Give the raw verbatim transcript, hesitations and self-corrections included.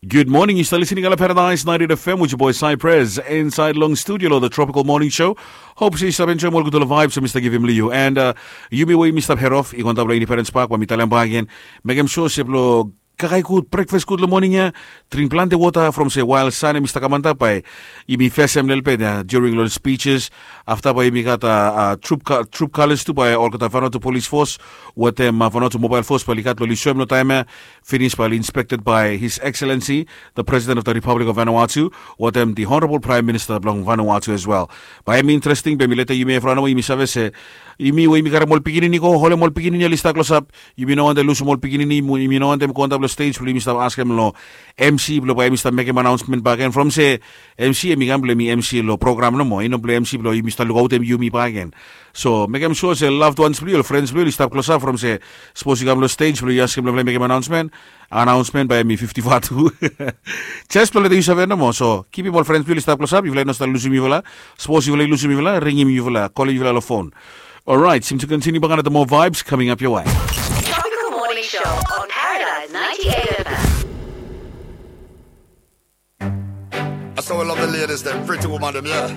Good morning, yu stap listening long Paradise ninety-eight F M with your boy Cypress inside long studio lo the Tropical Morning Show. Hope se yu stap enjoim ol gudfala vibes mi stap givim long yu. And uh, yumi we yumi stap head off, i go antap long Independence Park, bae mi talem bakegen. Mekem sure se blo kakae gud, breakfast gud long morning ya. Drink planti wota from se while sun hemi stap kam antap bae yumi fesem lelebet ya during long speeches. Afta bae yumi gat uh, uh, troop, co- troop colors tu bae olgeta Vanuatu Police Force wetem uh, Vanuatu Mobile Force bae oli gat long oli soem long taem ya. Finis bae oli inspected by His Excellency the President of the Republic of Vanuatu wetem the Honorable Prime Minister blong Vanuatu as well. Bae hemi interesting, bae mi leta yumi evriwan nomo, yumi save se yumi we yumi karem ol pikinini go holem ol pikinini oli stap klosap. Yumi no wantem lusum ol pikinini, yumi no wantem go antap long stage blo yumi stap askem long M C blo bae yumi stap mekem announcement bakegen from se M C hemi kam blo hemi M C long program nomo, i no blo M C blo yumi stap lukautem yumi bakegen. So mekem sure se loved ones blo yu, ol friends blo yu oli stap klosap from se sapos yu kam long stage blo yu askem long bae mekem announcement, announcement bae hemi fifty vatu. Just blo leta yu save nomo. So kipim ol friends blo yu oli stap klosap, yufala i no stap lusum yufala. Sapos yufala i lusum yufala, ringim yufala, kolem yufala long phone. Alright, seem to continue back another more vibes coming up your way. Tropical Morning Show on Paradise ninety-eight F M. I so love the ladies, them pretty woman, them, yeah.